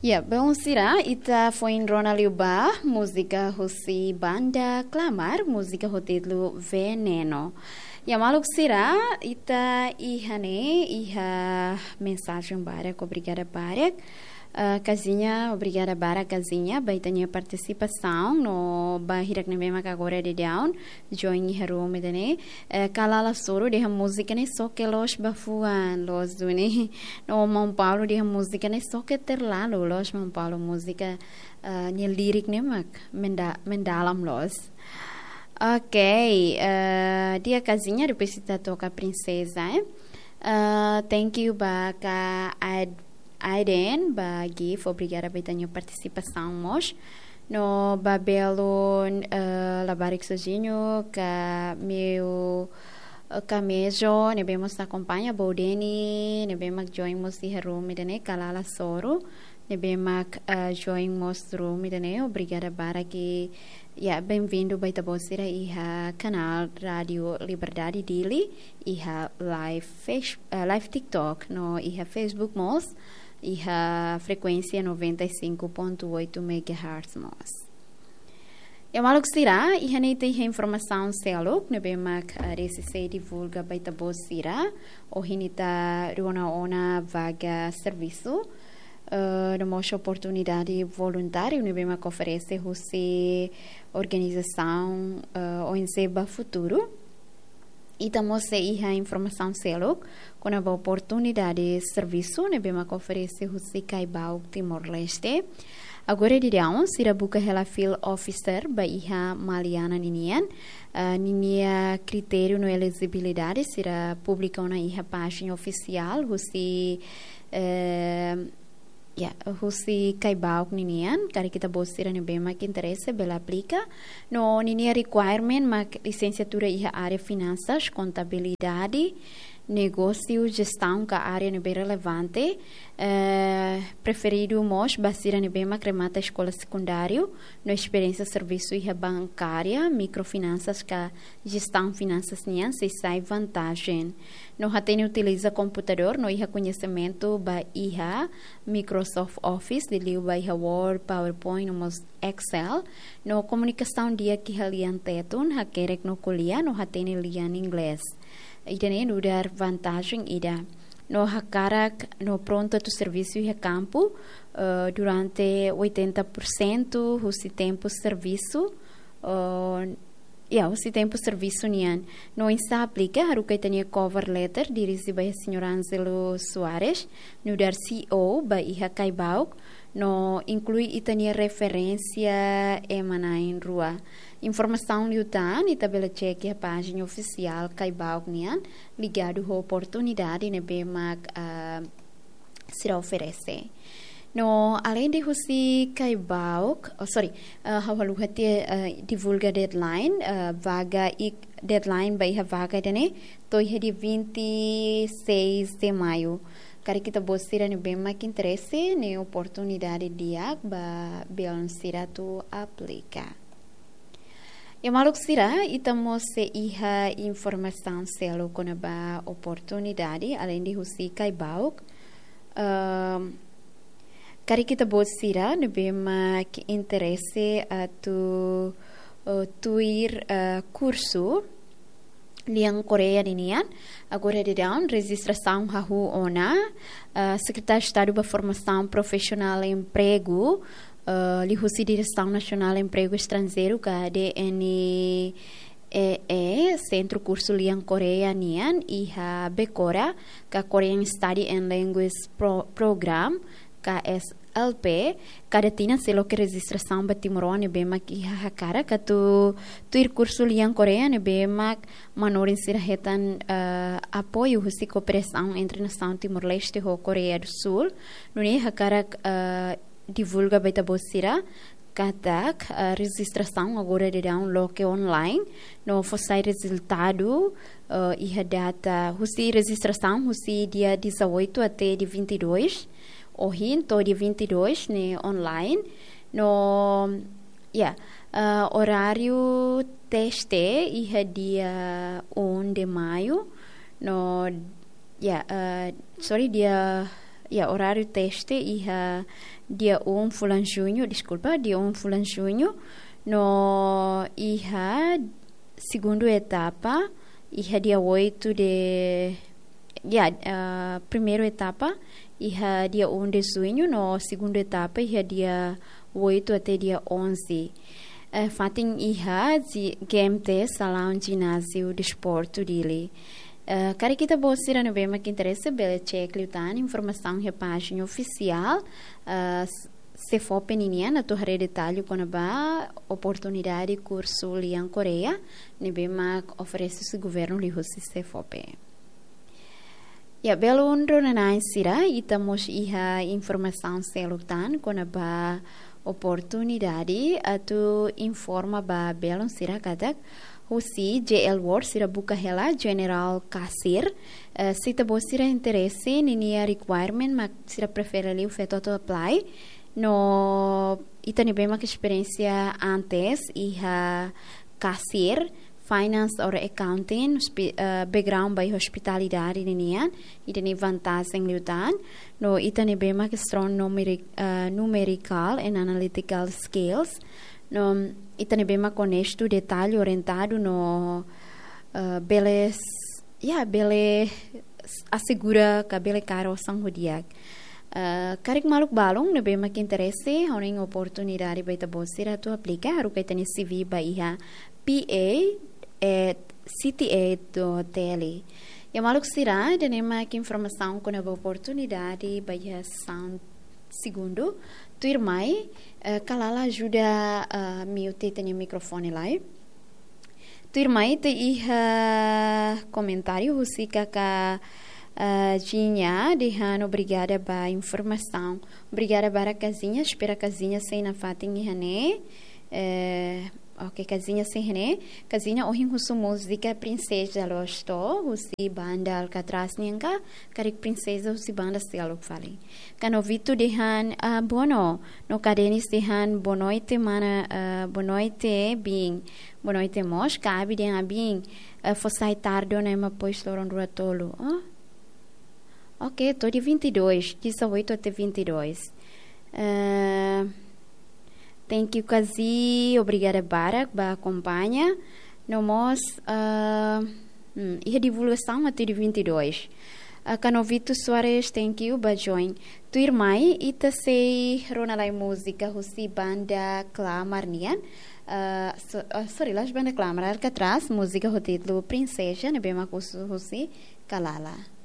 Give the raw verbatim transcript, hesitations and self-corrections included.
Ya, belun sira, ita foin rona liu ba múzika husi banda Klamar, múzika ho títulu Veneno. Ya, maluk sira, ita iha ne'e, iha mensajen barak, obrigada barak. Ah, Kazinha, obrigada barak, Kazinha, ba ita-nia partisipasaun, no ba hirak ne'ebé mak agora daudaun join iha room ida-ne'e. Eh, Kalala Soru dehan múzika ne'e xoke loos ba fuan, loos duni. No Maun Paulo dehan múzika ne'e xoke terlalu, loos Maun Paulo, múzika, eh, nia lirik ne'e mak menda-, mendalam loos. Ok, eh, di'ak Kazinha, depois ita toka Princesa, eh. Eh, thank you ba Ka Ad-, Aiden, ba gift, obrigada ba ita-nia partisipasaun mós. No ba belun, eh, Labarik Sojinho, Ka Meu, eh, Ka Mejo, ne'ebé mós akompaña, Boudeni, ne'ebé mak join mós iha room ida-ne'e, Kalala Soru, ne'ebé mak, eh, join mós room ida-ne'e, obrigada barak. Ya, bem-vindo ba ita-boot sira iha kanál Rádio Liberdade Dili, iha live Face-, eh, live TikTok, no iha Facebook mós, iha frekuénsia noventa e cinco ponto oito megahertz mós. Ya, maluk sira, iha ne'e ita iha informasaun seluk ne'ebé mak, eh, resiste divulga ba ita-boot sira. Ohin ita rona ona vaga servisu, eh, no mós oportunidade voluntáriu ne'ebé mak oferese husi organizasaun, eh, O N G ba Futuru. Ita mós sei iha informasaun seluk kona-ba oportunidade servisu ne'ebé mak oferese husi Caibauk Timor-Leste. Agora daudaun sira buka hela field officer ba iha Maliana ninian. Ah, ninia kritériu no elejibilidade sira publika ona iha pájina ofisiál husi, eh, ya, husi Caibauk ninian, karik ita-boot sira ne'ebé mak interese bele aplika. No ninia requirement mak lisensiatura iha área finansas, kontabilidade, negósiu, jestaun ka área ne'ebé relevante, eh, preferidu mós ba sira ne'ebé mak remata eskola sekundáriu, no esperiénsia servisu iha bankária, mikrofinansas ka jestaun finansas nian sei sai vantajen. No hatene utiliza komputadór, no iha koñesimentu ba iha Microsoft Office, liuliu ba iha Word, PowerPoint, no mós Excel. No komunikasaun di'ak iha lian Tetun, hakerek no ko'alia, no hatene lian Inglés. Ida-ne'e nu'udar vantajen ida. No hakarak, no prontu atu servisu iha kampu, eh, durante oitenta por cento husi tempu servisu, eh, ya, husi tempu servisu nian. No oinsá aplika, haruka ita-nia cover letter, dirije ba iha Señór Ângelo Soares, nu'udar C E O ba iha Caibauk, no inklui ita-nia referénsia ema na'in rua. Informasaun liután, ita bele cek iha pájina ofisiál Caibauk nian, ligadu ho oportunidade ne'ebé mak, ah, sira oferese. No, aleinde husi Caibauk, oh, sorry, eh, ha'u haluha tiha, eh, divulga deadline, eh, vaga i-, deadline ba iha vaga ida-ne'e, to'o iha dia vinte e seis de maio. Karik ita-boot sira ne'ebé mak interese, ne'e oportunidade di'ak ba belun sira atu aplika. Ya, maluk sira, ita mós sei iha informasaun seluk kona-ba oportunidade, aleinde husi Caibauk. Ehm, karik ita-boot sira ne'ebé mak interese atu, eh, tuir, eh, kursu lian Koreia ninian, agora daudaun rejistrasaun hahú ona, eh, Sekretáriu Estadu ba Formasaun Profisionál Empregu, eh, liuhusi Diresaun Nasionál Empregu Estranjeiru ka D N E E, Sentru Kursu Lian Koreia nian, iha Bekora, ka Korean Study and Language Pro-, Program, K S L P, kada tinan sei loke rejistrasaun ba timoroan ne'ebé mak iha hakarak atu tuir kursu lian Koreia ne'ebé mak manorin sira hetan, eh, apoiu husi kooperasaun entre nasaun Timor-Leste ho Koreia do Sul. Nune'e hakarak, eh, divulga ba ita-boot sira katak, eh, rejistrasaun agora daudaun loke online, no fó sai rezultadu, eh, iha data, husi rejistrasaun husi dia dezoito até dia vinte e dois, ohin to'o dia vinte e dois ne'e online, no, ya, eh, oráriu teste iha dia um de maio, no, ya, eh, sorry, dia Ya, oráriu teste iha dia um fulan Juñu, deskulpa, dia um fulan Juñu, no iha segundu etapa iha dia oito de, ya, ah, primeiru etapa iha dia um de Juñu, no segundu etapa iha dia oito até dia onze. Eh, fatin iha G M T, Salaun Jináziu Desportu Dili. Eh, karik ita-boot sira ne'ebé mak interese bele cek liután informasaun iha pájina ofisiál, eh, s-, SEFOPE ninian, atu haree detallu kona-ba oportunidade kursu lian Koreia ne'ebé mak oferese husi governu liuhusi SEFOPE. Ya, belun rona-na'in sira, ita mós iha informasaun seluk tan kona-ba oportunidade atu informa ba belun sira katak husi J L World sira buka hela General Cashier. Eh, se ita-boot sira interese, ninia requirement mak sira prefere liu feto atu apply. No ita ne'ebé mak esperiénsia antes iha cashier, finance or accounting, hospi-, eh, background ba iha hospitalidade ninian, ita-nia vantajen liután. No ita ne'ebé mak strong numeri-, eh, numerical and analytical skills. No ita ne'ebé mak onestu, detallu orientadu no, eh, bele s-, ya, bele s-, asegura ka bele kaer osan ho di'ak. Eh, karik maluk balun ne'ebé mak interese, ha'u hanoin oportunidade ba ita-boot sira atu aplika, haruka ita-nia C V ba iha P A at C T A dot L. Ya maluk sira, ida-ne'e mak informasaun kona-ba oportunidade ba iha sesaun segundu. Tuirmai, eh, Kalala ajuda, eh, mute ita-nia mikrofone lai. Tuirmai ita iha komentáriu husi kaka, eh, Jinha dehan obrigada ba informasaun. Obrigada barak Kazinha, espera Kazinha sei nafatin iha ne'e. Eh, oke, Kazinha sei iha ne'e. Kazinha ohin husu múzika Princesa Losto, husi banda Alcatraz nian ka, karik Princesa husi banda seluk fali. Kanovito dehan, ah, boa no, no Kadenis dehan, boa noite, mana, ah, boa noite, bin. Boa noite mós, Kabi dehan, bin, ah, fó sai tarde ona ema pois loron rua tolu. Oh? Ok, to'o dia vinte e dois, dezoito até vinte e dois. Eh, thank you, Kazi. Obrigada barak ba akompaña. No mós, eh, hmm, iha divulgasaun até dia vinte e dois. Ah, Kanovito Soares, thank you ba join. Tuirmai, ita sei rona lai múzika husi banda Klamar nian. Ah, so-, ah, sorry, la'ós banda Klamar, Alcatraz, múzika ho títulu Princesa, ne'ebé mak husu husi Kalala.